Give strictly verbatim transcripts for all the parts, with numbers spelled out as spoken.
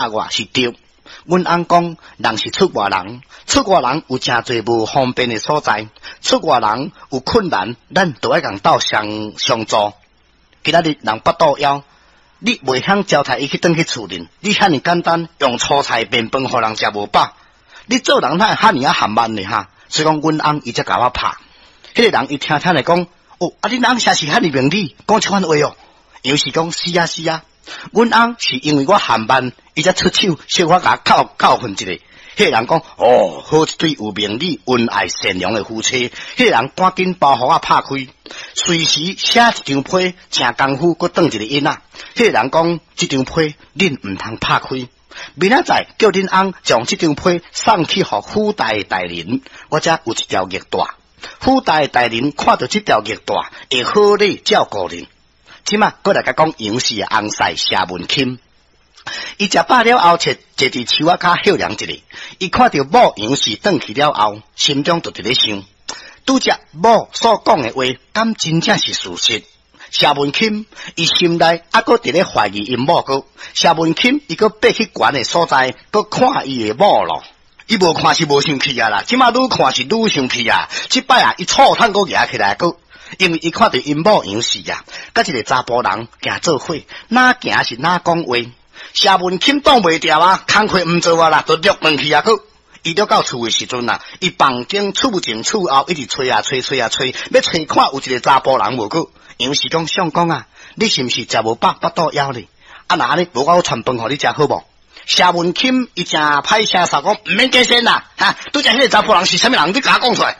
我是對。阮翁講，人是出外人，出外人有誠濟無方便的所在，出外人有困難，咱都愛共鬥相相助。今仔日人腹肚枵，你袂曉招待伊去轉去厝裡，你遐爾簡單用粗菜麵飯予人食無飽，你做人哪會遐爾仔含慢呢？哈！所以講，阮翁伊才共我拍。彼個人伊聽聽來講，哦，啊，恁翁啥是遐爾明理，講這款話哦。楊氏講是啊是啊，阮翁是因為我含慢，伊才出手小可共我教教訓一下。彼個人講，哦，好一對有明理、恩愛善良的夫妻。彼個人趕緊包袱仔拍開，隨時寫一張批，誠功夫，閣轉一个印仔。彼個人講，這張批恁毋通拍開。明仔載叫恁翁將這張批送去予府大的大人，我遮有一條玉帶。府大的大人看著這條玉帶，會好禮照顧恁。這馬閣來共講楊氏的翁婿謝文钦，伊食飽了後，坐坐佇樹仔跤歇涼一下。伊看著某楊氏轉去了後，心中就佇咧想：拄才某所講的話，敢真正是事實？謝文钦伊心內猶閣佇咧懷疑𪜶某閣。謝文钦伊閣爬去懸的所在，閣看伊的某咯。伊無看是無生氣啊啦，這馬愈看是愈生氣啊！這擺啊，伊醋桶閣舉起來閣，因為伊看著𪜶某楊氏啊，佮一个查埔人行做伙，哪行是哪講話。謝文钦擋袂牢啊，工課毋做啊啦，就掠轉去啊閣。伊掠到厝的時陣啊，伊房間厝前厝後一直揣啊揣揣啊揣，欲揣看有一个查埔人無閣。楊氏講相公啊，你是毋是食無飽腹肚枵咧？啊若按呢，無我傳飯予你食好無？謝文钦伊誠歹聲捎講，毋免解釋啦，哈！拄才彼个查埔人是啥物人？你共我講出來。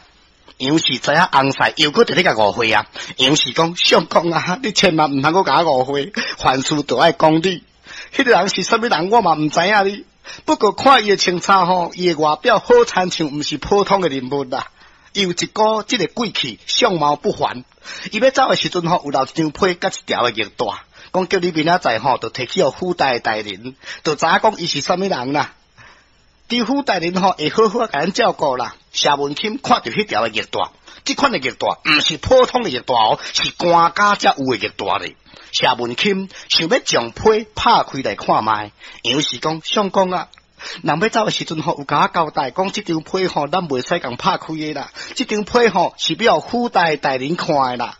楊氏知影翁婿又閣佇咧共誤會啊！楊氏講相公啊，你千萬毋通閣共我誤會，凡事都愛講理。彼個人是啥物人，我嘛毋知影哩。不過看伊的穿衫吼，伊的外表好親像毋是普通的人物啦。伊有一股這个貴氣，相貌不凡。伊欲走的時陣吼，有留一張批佮一條的玉帶，講叫你明仔載吼，就提去予府大的大人，就知影講伊是啥物人啦。佇府大人吼會好好共咱照顧啦。謝文钦看著彼條的玉帶，這款的玉帶毋是普通的玉帶哦，是官家才有的玉帶咧。謝文钦想欲將批拍開來看覓，楊氏講相公啊，人欲走的時陣吼，有共我交代講，這張批吼，咱袂使共拍開的啦。這張批吼是欲予府大的大人看的啦。